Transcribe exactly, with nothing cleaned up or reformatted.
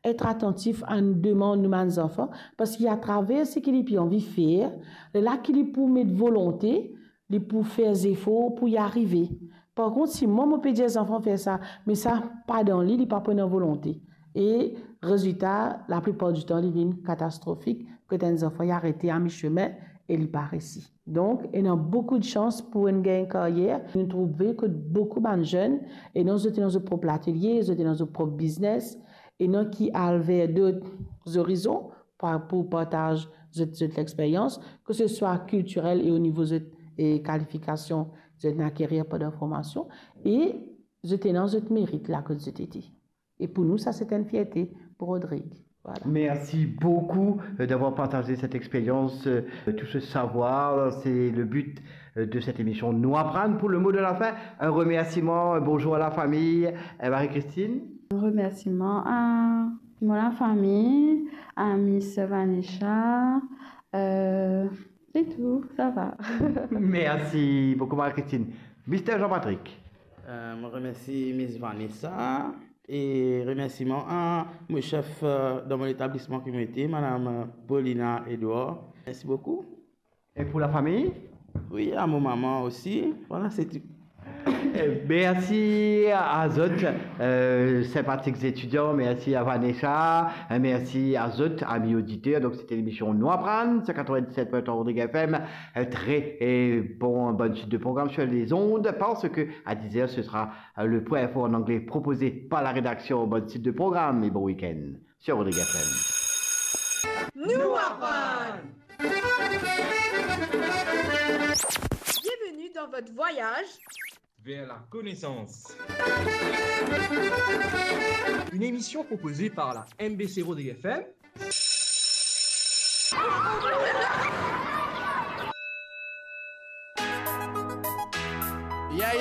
et atantif a nou demann nou bann zanfan, parski atraver seki li pe anvi fer, lerla ki li pou met volonte, li pou fer zefor pou li arive. Par kont, si mwa mo pe dir zanfan fer sa, me sa pa dan li, li pa pou ena volonte. E rezilta, laplipar ditan, li vinn katastrofik, kot enn zanfan li arete amisime e li pa resi. Donk, ena boukou de sans pou enn gagn karyer. Nou trouve kot boukou bann zenn, ena zot ena zot prop latelie, zot ena zot prop biznes, ena ki al ver dot zorizon pa-, pou partaz zot, zot lexperyans, ke se swa kiltirel e o nivo zot, e kalifikasion zot inn akerir pandan formasion, e zot ena zot merit la kot zot ete. E pou nou, sa se enn fierte pou Rodrig. Voilà. Merci beaucoup, euh, d'avoir partagé cette expérience, euh, tout ce savoir. C'est le but, euh, de cette émission. Nou aprann pour le mot de la fin. Un remerciement, un bonjour à la famille. Euh, Marie-Christine. Un remerciement à mon famille, à Miss Vanessa. Euh, c'est tout, ça va. Merci beaucoup, Marie-Christine. Mister Jean-Patrick. Euh, mo remersi Miss Vanessa e remersiman a mo sef, euh, dan mo letablisman ki mo ete, Madame Paulina Edouard. Merci beaucoup. Et pour la famille? Oui, à mon maman aussi. Voilà, c'est tout. Eh, merci à zot, euh, sympathiques étudiants. Merci à Vanessa. Euh, merci à zot, amis auditeurs. Donc, c'était l'émission Nou Aprann sur quatre-vingt-dix-sept point trois Rodrigue F M. Euh, très, euh, bon, bonne suite de programme sur les ondes, parce que à dix heures, ce sera, euh, le point info en anglais proposé par la rédaction. Bonne suite de programme et bon week-end sur Rodrigue F M. Nou Aprann. Bienvenue dans votre voyage vers la connaissance. Une émission proposée par la M B C Rodrigue F M. Ya, ya,